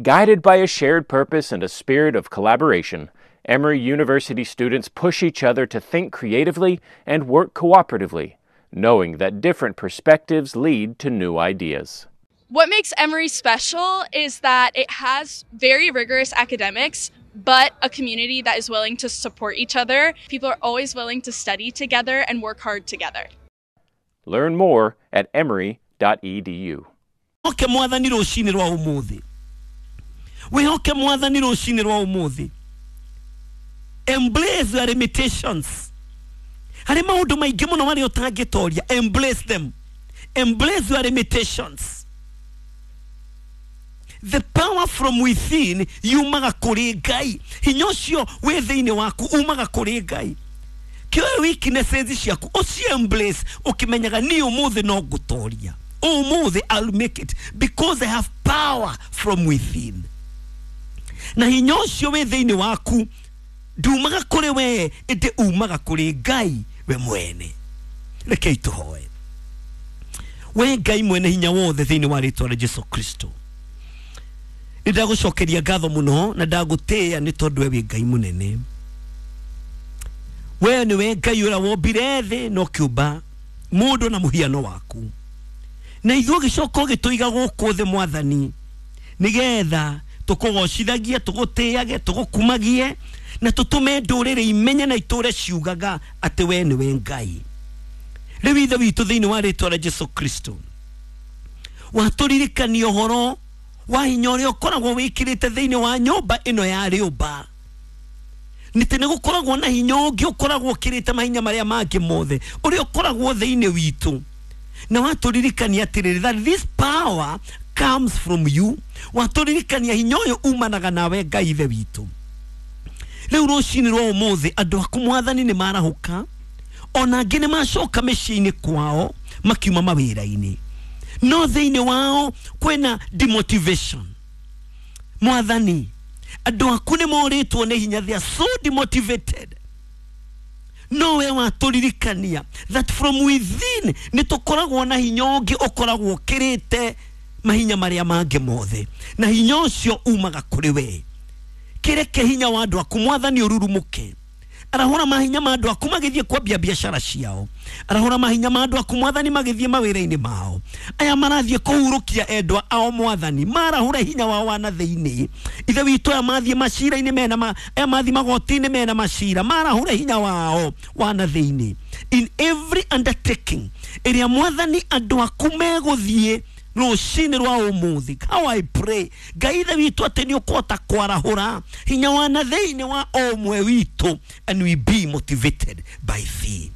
Guided by a shared purpose and a spirit of collaboration, Emory University students push each other to think creatively and work cooperatively, knowing that different perspectives lead to new ideas. What makes Emory special is that it has very rigorous academics, but a community that is willing to support each other. People are always willing to study together and work hard together. Learn more at emory.edu. Oke Mwathani rũcinĩ rwa ũmũthĩ, wĩhoke Mwathani rũcinĩ rwa ũmũthĩ. Embrace your limitations. Harĩ maũndũ maingĩ mũno marĩa ũtangĩtoria. Embrace them. Embrace your limitations. The power from within yumaga kũrĩ Ngai. Hinya ũcio wĩ thĩinĩ waku umaga kũrĩ Ngai. Kĩoe weaknesses ciaku, ũci embrace, ũkĩmenyaga niĩ ũmũthĩ no ngũtoria. Ũmũthĩ I'll make it because I have power from within. Na hinya ũcio wĩ thĩinĩ waku ndumaga kũrĩ we, ĩndĩ umaga kũrĩ Ngai we mwene. Rekei tũhoe. We Ngai mwene hinya wothe, thĩinĩ wa rĩtwa rĩa Jesu Kristo, nĩ ndagũcokeria ngatho mũno na ndagũtĩĩa nĩ tondũ we wĩ Ngai mũnene. We nĩwe Ngai ũrĩa wombire thĩ na ũkĩũmba mũndũ na mũhiano waku, na ithuĩ ũgĩcoka ũgĩtũiga gũkũ thĩ, Mwathani, nĩgetha tũkũgocithagie, tũgũtĩage, tũgũkumagie na tũtũme ndũrĩrĩ imenye na itũre ciugaga atĩ we nĩwe Ngai. Rĩu Ithe witũ, thĩinĩ wa rĩtwa rĩa Jesu Kristo, watũririkania ũhoro wa hinya ũrĩa ũkoragwo wĩkĩrĩte thĩinĩ wa nyũmba ĩno ya rĩũmba, nĩtĩ nĩ gũkoragwo na hinya ũngĩ ũkoragwo ũkĩrĩte mahinya marĩa mangĩ mothe, ũrĩa ũkoragwo thĩinĩ witũ. Na watũririkania atĩrĩrĩ, that this power comes from you. Watũririkania hinya ũyũ umanaga nawe, Ngai Ithe witũ. Rĩu rũcinĩ rwa ũmũthĩ, andũ aku, Mwathani, nĩ marahũka, ona angĩ nĩ macoka mĩciĩ-inĩ kwao makiuma mawĩra-inĩ, no thĩinĩ wao kwĩna demotivation. Mwathani, andũ aku nĩ morĩtwo nĩ hinya. They are so demotivated. No we watũririkania that from within nĩ tũkoragwo na hinya ũngĩ ũkoragwo ũkĩrĩte mahinya marĩa mangĩ mothe, na hinya ũcio umaga kũrĩ we. Kĩreke hinya wa andũ aku, Mwathani, ũrurumũke. Arahũra mahinya ma andũ aku magĩthiĩ kwambia biacara ciao. Arahũra mahinya ma andũ aku, Mwathani, magĩthiĩ mawĩra-inĩ mao. Aya marathiĩ kũhurũkia endwa ao, Mwathani, marahũra hinya wao wa na thĩinĩ. Ithe witũ, aya mathiĩ macira-inĩ mena ma, aya mathiĩ magoti-inĩ mena macira, marahũra hinya wao wa na thĩinĩ. In every undertaking ĩrĩa, Mwathani, andũ aku megũthiĩ rũcinĩ rwa ũmũthĩ, how I pray, Ngai Ithe witũ, atĩ nĩ ũkũhota kwarahũra hinya wa na thĩinĩ wa o ũmwe witũ and we be motivated by thee.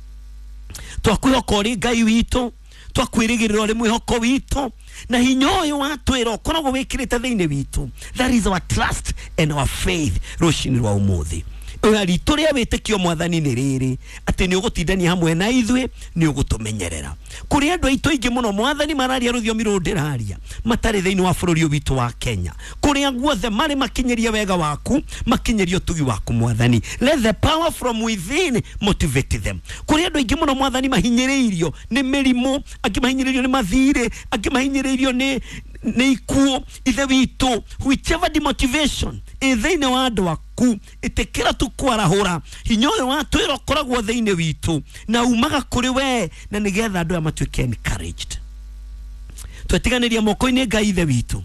Twakwĩhoka ũrĩ Ngai witũ, twakwĩrĩgĩrĩra ũrĩ mwĩhoko witũ, na hinya ũyũ watwĩra ũkoragwo wĩkĩrĩte thĩinĩ witũ, that is our trust and our faith. Rũcinĩ rwa ũmũthĩ, oya ritũ rĩa wĩtĩkio, Mwathani, nĩ rĩrĩ atĩ nĩ ũgũtindania hamwe na ithuĩ, nĩ ũgũtũmenyerera. Kũrĩ andũ aitũ aingĩ mũno, Mwathani, mararia rũthiomi rũrũ ndĩraria, matarĩ thĩinĩ wa bũrũri ũyũ witũ wa Kenya. Kũrĩa guothe marĩ, makinyĩrie wega waku, makinyĩrie ũtugi waku, Mwathani. Let the power from within motivate them. Kũrĩ andũ aingĩ mũno, Mwathani, mahinyĩrĩirio nĩ mĩrimũ, angĩ mahinyĩrĩirio nĩ mathirĩ, angĩ mahinyĩrĩirio nĩ ikuũ. Ithe witũ, whichever demotivation ĩ thĩinĩ wa andũ aku, ĩtĩkĩra tu kwarahũra hinya ũyũ watwĩra ũkoragwo thĩinĩ witũ na umaga kũrĩ we, na nĩgetha andũ aya matuĩke encouraged. Twetiganĩria moko-inĩ, Ngai Ithe witũ.